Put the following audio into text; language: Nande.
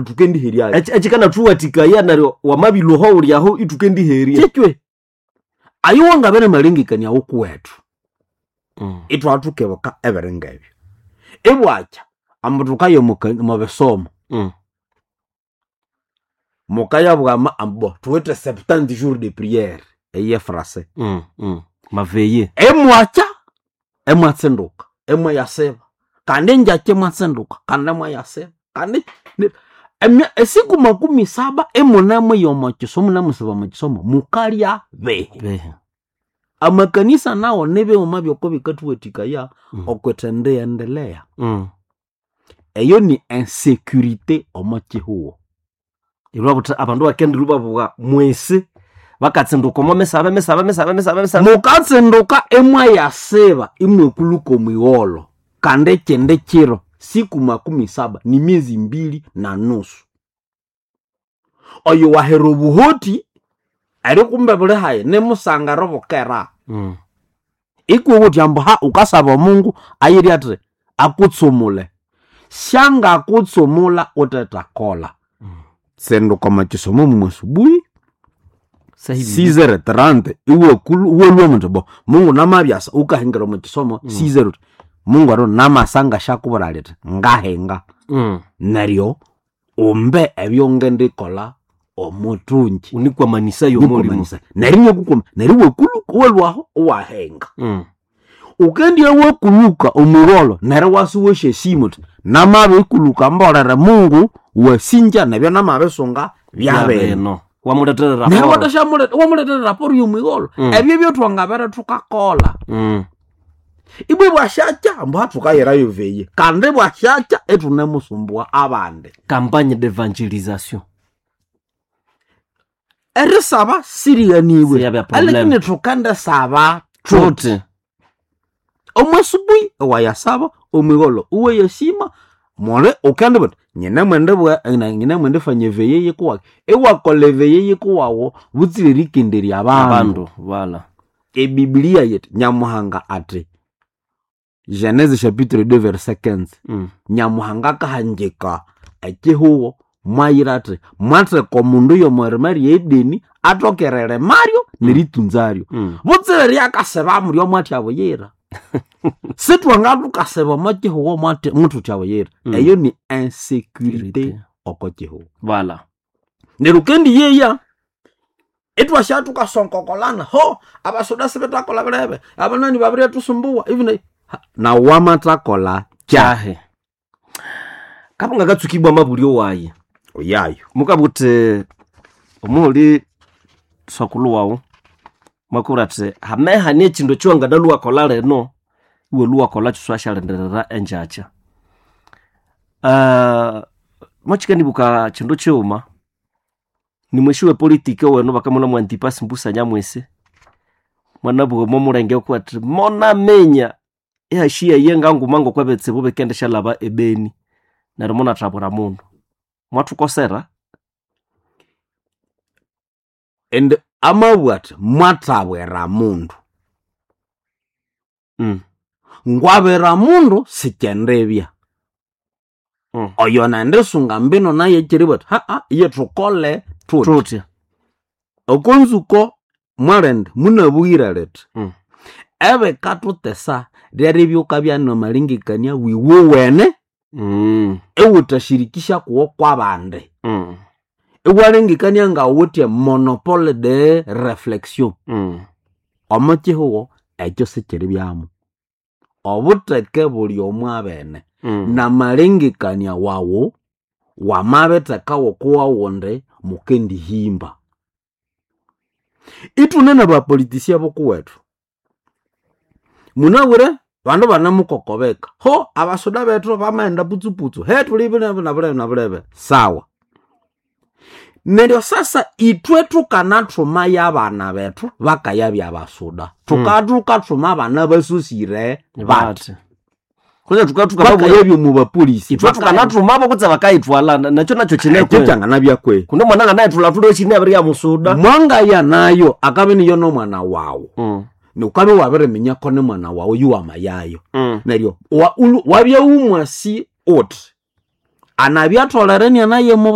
Tukendiheryayo. Ekikanathuwathikaya neryo wamabilwoho ulyaho ithukendiherya. Kyekwe ayo wangabere malengekania wokuwethu itwathukebuka ebiringa ebyo ibwakya ambu thukaya omu bisomo mukayabwama ambu thuwithe 70 jours de prière eye frase. Maveye. Emwakya emwatsinduka emwayasiba kandi engyakya emwatsinduka kandi emwayasiba kandi esiku 70 emunemwiya omo kisomo munemusiba omo kisomo mukalya bihi? Behe. Amakanisa nawo nibighuma byoko bikathuwathikaya okwithendiyendelea. Eyo ni insécurité omo kihugho. Ilwabuthi abandu bakendirwa babuwa mwesi bakatsinduka omo misabe misabe misabe misabe misabe. Mukatsinduka emwayasiba imwekuluka omwigholho kandi ekindi kiro siku 70 ni miezi 2 na nusu. Oyo wahera obuhoti eri kumbe buli hayi nimusangara bukera. Ikuwe wuthi ambu ha ukasaba omungu ayiri athi akutsumule syangakutsumula utethakolha. Tsinduka omo kisomo mumwasubuhi 6h30 iwalwa muthi bo mungu namabyasa ukahingira omo kisomo 6h mungu aro namasa ngashyakubwira lithi ngahinga. Neryo umbe ebyongendikolha omuthungi. Unikwamanisa yomulimu. Nikwamanisa. Neryo inyakukwama neryo iwakuluka iwalwaho iwahinga. Ukendya wakuluka omwigholho neryo iwasa iwasyasima uthi namabikuluka mbolere mungu wasinja nebyo namabisunga byabino. Byabino wamuletera Neryo raporo. wamuletera raporo yomwigholho. Ebyo byotwangabere thukakolha. Ibwe bwasyakya ambu hathukayirayo veye kandi bwasyakya ithunemusumbugha abandi. Campagne d'evangelisation. Erisaba sirighanibwe Siyabya problem. alakini thukendisaba thuthi Thuthi. Omwasubuhi iwayasaba omwigholho iwayasima muli ukendibwa uthi nyinemwendibwa nyinemwendifanya eveye yikuwaki iwakolha eveye yikuwawu butsira erikenderya abandu. Abandu wala. Ebibilia yithi nyamuhanga athi Genese chapitre 2 verset 15. Nyamuhanga akahangika ekihugho mwayira athi mwatheka omundu y'omwirima ry'edeni athoke eririmaryo neritunzaryo. Butsira ryakasiba muryo mwathya buyira. Sithwangathukasiba omo kihugho mwathutya buyira. Eyo ni insécurité oko kihugho. Wala. Neryo ukendiyeya ithwasya thukasonkokolana ho abasoda sibethakolha birebe abanani babiryathusumbuwa even nawu wamathakolha kyahi. Kyahi. Kabunga katsukibwa mabulyo wayi. Oyayo. Mukabuthi omuhuli sokulu wawu mwakubwira athi hamehani ekindu ekyiwanganalhuwakolha lino iwe lhuwakolha kyiswasyalindirira engyakya. Mwakyikandibuka kindu kighuma nimwesi wepolitiki owenu bakamulha mwa Antipasi Mbusa Nyamwisi mwanabugha omomulenge oku athi monaminya ihashiyaye nganguma ngokwebitsibu bikendisyalhaba ebeni neryo munathabwira mundu mwathukosera. Indi amabugha athi mwathabwira mundu. Ngwabira mundu sikyendibya. Oyo nendisunga mbino naye kyeribugha athi haa iye thukole thuthi. Thuthi. Okonzuko mwalindi munabughire lithi ebikathuthesa ryeribya wukabya namalengekania wiwowene iwuthashirikisha kuwo kwabandi. Iwalengekania ngawuthe monopole de reflexion. Omo kihugho ekyo sikyiribyamu. Obutheke buli omwabene namalengekania wawu wamabitheka wokuwawundi mukendihimba. Ithune nabapolitisia bokuwethu munabwire bandu banemukokobeka ho abasoda bethu bamaghenda putsuputsu he thuli bilebe nabulebe nabulebe sawa. Neryo sasa ithwe thukanathuma y'abana bethu bakayabya abasuda. Thukathukathuma abana basosire bathi. Bathi. Kwanza thukathuka Bakayabya omu bapolisi. ithwe thukanathumabo kutse bakayithwala nakyo nakyo Ekyo kinekwe. kyanganabya kwe. Kundi omwana anganayithwala thulwe kine abirya musuda. Mwangaya nayo akabya niyo n'omwana wawu. Nukabya wabiriminya ko ni mwana wawu yuwamayayo. Neryo wabya wumwasi uthi Anabya atholere nianaye mu